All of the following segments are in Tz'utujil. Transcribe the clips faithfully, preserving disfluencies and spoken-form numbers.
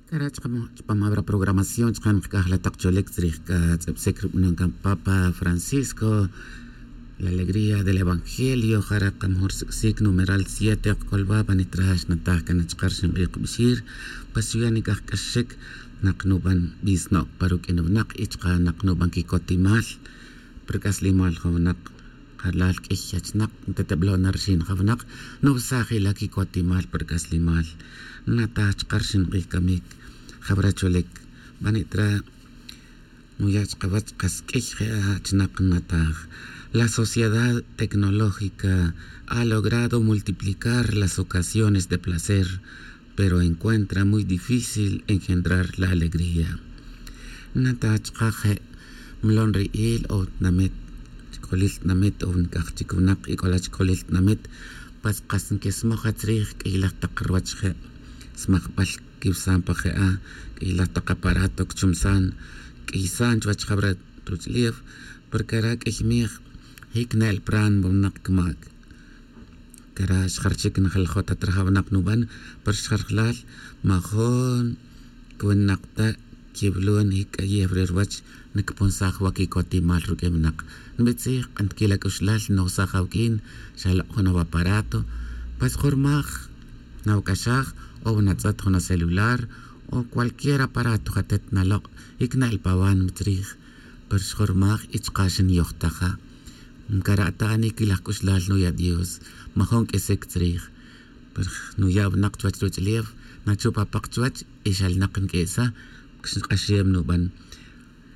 Cara' chupam abra programación chaka' nkac'aj la tak cholic tzrij c'a tz'ibsic rubanon can papa francisco, la alegría del evangelio. Jara' kamajor sic'sic numeral siete ok c'olba' banitra xnataj can chaka' rxin k'ij kbixir. Pues xuya' nic'aj c'axxic nak nuban bisno' pa ruq'uin winak y chaka' nak nuban quicotimal. Pa ruc'aslimal jun winak jalal q'uiy achnak ntatablo' na rxin jawnak. Nubsaj ila' quicotimal pa ruc'aslimal. Nataj chaka' rxin k'ij camic jawra cholic. Banitra nuya' chkawach kas q'uiy je' achnak nataj. La sociedad tecnológica ha logrado multiplicar las ocasiones de placer, pero encuentra muy difícil engendrar la alegría. Nataj chaka' je' mlon ri'il o tinamit, chcolil tinamit o nic'aj chic winak y c'ola chcolil tinamit. Pues kas nquesmoj atzrij q'uiylaj tak ruwach je' smajbal quibsan pa je'a q'uiylaj tak aparato cchumsan q'uiysan chuwech jawra ruch'ulef. Porque ara' q'uiy mij jic ne'el pran winak cmac. Cara' xjar chic njalajot ta traja winak nuban. Pero xjarjalal majun cwinak ta quiwilon jic c'ayew re ruwach nicpunsaj wa quicotimal ruq'uin winak. Nbitzij k'an tiquil ac'uxlal nojsaj awuq'uin xa lok' jun awaparato. Pues jun rmaj nawac'axaj o wanatz'et jun acelular o cualquier aparato jatet nalok' jic ne'el pa wan mitzrij. Pero xjun rmaj y chaka' xnyojtaja. Ncara' ta ani quilaj c'uxlal nuya' dios. Majun q'uisic tzrij. Pero nuya' winak chuwech ruch'ulef nachup apak chuwech y xalnak nq'uesa. Xk'axem nuban.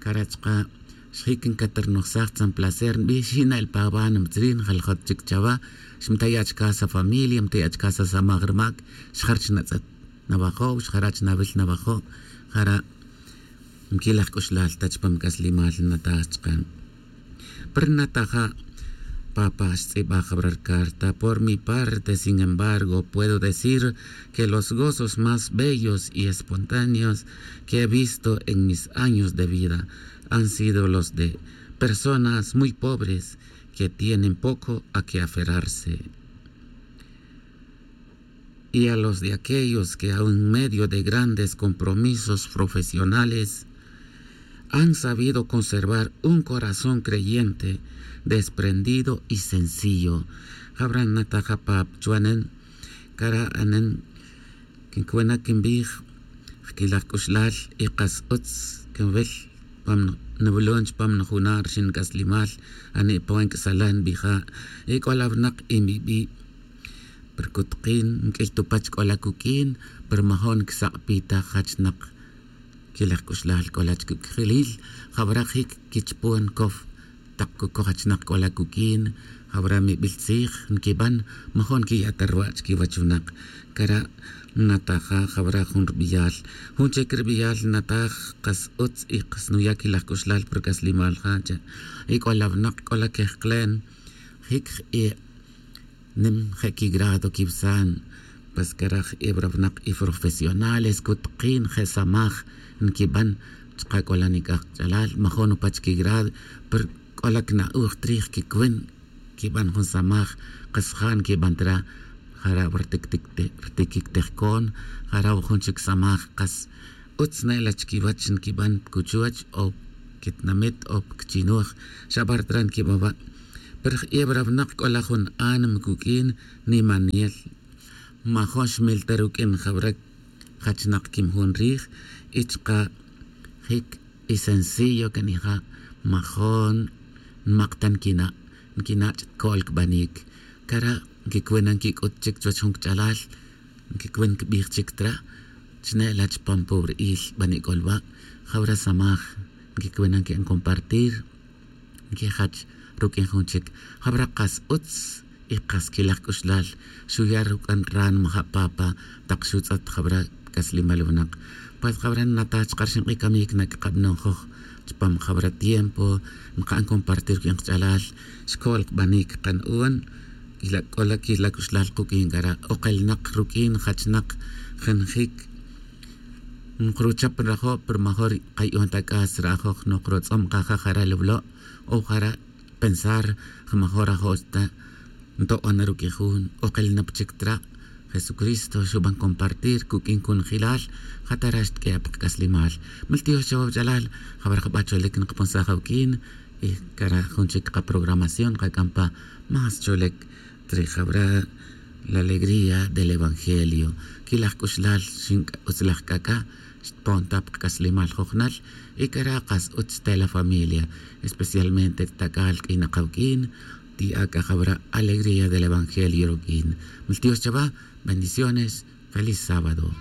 Cara' chaka' xjic ncatarnojsaj tzan placer nbij xi' ne'el pa wan mitzrij njalajot chic chawa. Xmtaya' chaka' sa familia mtaya' chaka' sa samaj rmac. Xjar chnatz'et nawajo' xjara' chnawil nawajo'. Jara' nquilaj c'uxlal ta chupam c'aslimal nataj chaka'. Pero nataja' papa xtz'ibaj jawra rcarta. Por mi parte sin embargo puedo decir que los gozos más bellos y espontáneos que he visto en mis años de vida han sido los de personas muy pobres que tienen poco a qué aferrarse y a los de aquellos que aun en medio de grandes compromisos profesionales han sabido conservar un corazón creyente, desprendido y sencillo. Jawra nataja' pap chuwanen cara' anen. Quincwena' quimbij jquilaj c'uxlal y kas utz quinwil. Pam nwilon chupam nujuna' rxin c'aslimal. Ani' pa wan c'asalan nbija' y c'ola winak y mibi'. Pero cutkin nq'uiy tupach c'ola cuq'uin. Pero majon quisabitaj jachnak quilaj c'uxlal c'ola chic uc'jilil. Jawra jic quichupon cow tak cucoj achnak c'ola cuq'uin. Jawra mibil tzij nquiban majon quiya' ta ruwa' chiquiwach winak. Cara' nataja' jawra jun rubiyal jun chic rubiyal nataj. Kas utz y kas nuya' quilaj c'uxlal pa ruc'aslimal ja' che' y c'ola winak c'ola quejklen. Jic je' nim je' quigrado quiwsan. Pues cara' je' wara winak y profesionales cutkin je' samaj nquiban. Chaka' c'ola nic'aj kch'alal majon upach quigrado. Pero c'ola cna'oj trij quicuin quiban jun samaj. Kas ja' nquiban tra jara' wa rtiquic tejcon. Jara' wa jun chic samaj kas utz ne'la chiquiwach nquiban pa cuchuwach o pa quitinamit o pa quichinuj. Xa bar tra nquiban wa'. Pero je' wara winak c'ola jun ánima cuq'uin nimanel. Majon xmil ta ruq'uin jawra jachnak quimjun rij y chaka' jic y sencillo can ija'. Majon nmak ta nquina' nquina' ch'at co'l cbanic. Cara' nquicuin na nquic'ut chic chuwech jun cch'alal. Nquicuin nquibij chic tra chne'la chupam pobri'il bani' c'olba'. Jawra samaj nquicuin na nqui'an compartir nquijach ruq'uin jun chic. Jawra kas utz y kas quilaj c'uxlal xuya' ruc'an ran maja' papa tak xutz'et jawra c'aslimal winak. Pues jawra nnataj chaka' rxin k'ij camic nac'kabanon joj chupam jawra tiempo nka'n compartir ruq'uin kach'alal. Xco'l kbanic kanu'on c'ola quila c'uxlal kuq'uin cara' okelinak ruq'uin jachnak jenjic. Nkruchap nrajo' pero major kayu'on ta c'as ra'joj nokrotz'om kaja jara' lawlo' o jara' pensar. Major ajo' ta nto'on na ruq'uin jun okel na pa chic tra'. Jesucristo xuban compartir cuq'uin conojilal. Jatara' xtq'ue' pa kac'aslimal. Miltiox chawa wach'alal. Jawara' jaba' cholec nkapunsaj awuq'uin. Y cara' jun chic kaprogramación kak'an pa más cholec. Tre jawara' la alegría del evangelio. Quilaj c'uxlal xin utzlaj c'ac'a' xtpon ta pa kac'aslimal jojnal. Y cara' kas utz te la familia, especialmente tac'al q'uinak awuq'uin. Ti'a c'a jawara' alegría del evangelio ruq'uin. Miltiox chawa. Bendiciones. Feliz sábado.